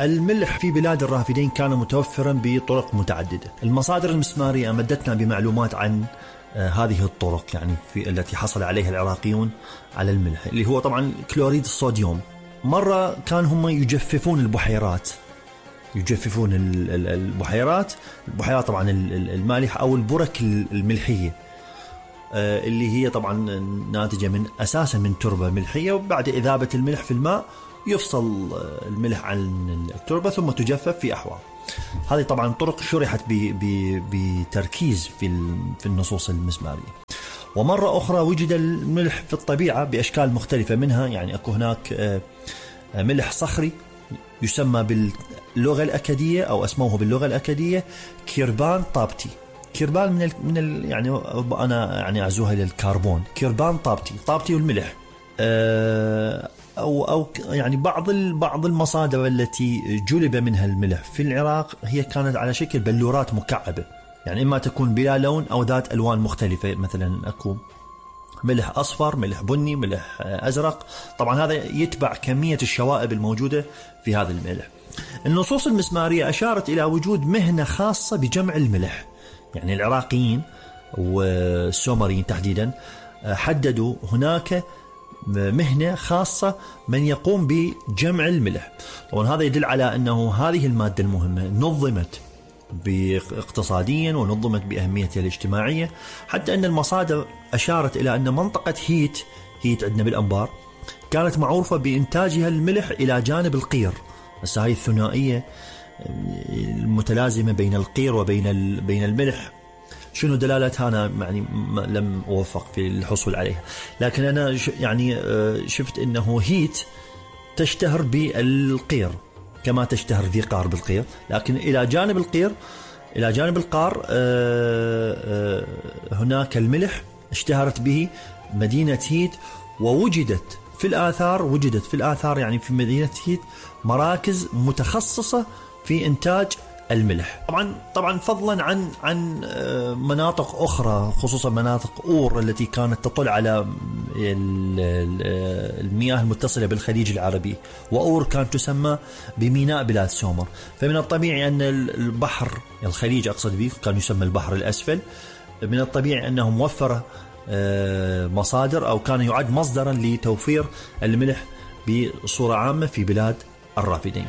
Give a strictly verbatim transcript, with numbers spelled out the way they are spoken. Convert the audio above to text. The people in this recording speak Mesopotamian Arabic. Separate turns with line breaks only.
الملح في بلاد الرافدين كان متوفرا بطرق متعددة. المصادر المسمارية أمدتنا بمعلومات عن آه هذه الطرق يعني في التي حصل عليها العراقيون على الملح، اللي هو طبعا كلوريد الصوديوم. مرة كان هم يجففون البحيرات، يجففون البحيرات البحيرات طبعا المالحة أو البرك الملحية اللي هي طبعا ناتجة من أساسا من تربة ملحية، وبعد إذابة الملح في الماء يفصل الملح عن التربة ثم تجفف في أحواض. هذه طبعا طرق شرحت بتركيز في في النصوص المسمارية. ومرة أخرى وجد الملح في الطبيعة بأشكال مختلفة، منها يعني أكو هناك ملح صخري يسمى باللغة الأكادية أو اسموه باللغة الأكادية كيربان طابتي. كيربان من ال من ال يعني أنا يعني أعزوها إلى الكربون. كيربان طابتي، طابتي والملح. أو أو يعني بعض بعض المصادر التي جلب منها الملح في العراق هي كانت على شكل بلورات مكعبة، يعني إما تكون بلا لون أو ذات ألوان مختلفة، مثلا أكو ملح أصفر، ملح بني، ملح أزرق. طبعا هذا يتبع كمية الشوائب الموجودة في هذا الملح. النصوص المسمارية أشارت إلى وجود مهنة خاصة بجمع الملح، يعني العراقيين والسومريين تحديدا حددوا هناك مهنة خاصة من يقوم بجمع الملح. طبعا هذا يدل على أنه هذه المادة المهمة نظمت باقتصاديا ونظمت بأهميتها الاجتماعية، حتى أن المصادر أشارت إلى أن منطقة هيت هيت عندنا بالأنبار كانت معروفة بإنتاجها الملح إلى جانب القير. بس هاي الثنائية المتلازمة بين القير وبين بين الملح شنو دلالتها أنا يعني لم أوفق في الحصول عليها، لكن أنا يعني شفت أنه هيت تشتهر بالقير كما تشتهر ذي قار بالقير، لكن إلى جانب القير إلى جانب القار هناك الملح اشتهرت به مدينة هيت. ووجدت في الآثار وجدت في الآثار يعني في مدينة هيت مراكز متخصصة في إنتاج الملح. طبعا طبعا فضلا عن عن مناطق أخرى، خصوصا مناطق أور التي كانت تطل على المياه المتصلة بالخليج العربي، وأور كانت تسمى بميناء بلاد سومر. فمن الطبيعي أن البحر الخليج أقصد به كان يسمى البحر الأسفل، من الطبيعي أنه موفر مصادر أو كان يعد مصدرا لتوفير الملح بصورة عامة في بلاد الرافدين.